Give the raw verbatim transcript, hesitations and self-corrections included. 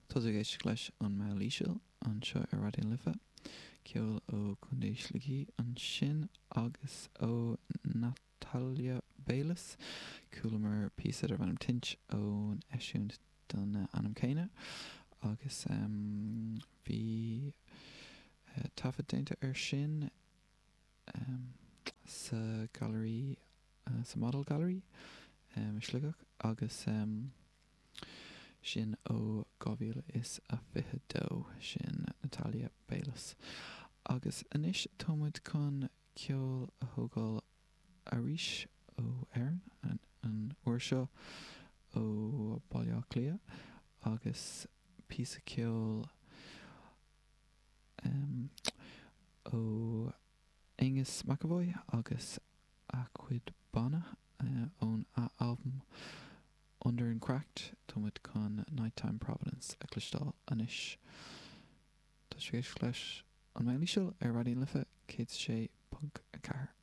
Tá tú ag éisteacht leis an Meall Íseal anseo ar Raidió na Life, ceol ó Chontae Shligigh ansin agus ó Natalia Bayliss. Chualamar píosa darb ainm Tint ón eisiúint den ainm céanna agus um, bhí uh, taifead déanta ar sin um, sa Gallery uh, sa Model Gallery um, Sligeach agus um, sin ó dhá mhíle is a fiche dó sin Natalia Bayliss. Agus anois táimid chun ceol a thógáil arís ó Éirinn an, an uair seo ó Baile Átha Cliath agus píosa ceoil um, ó Aonghus McEvoy agus a chuid banna uh, ón albam Under and Cracked táimid chun Nighttime Providence a chloisteáil anois. Tá sé leis an Meall Íseal ar Raidió na Life céad sé ponc a ceathair.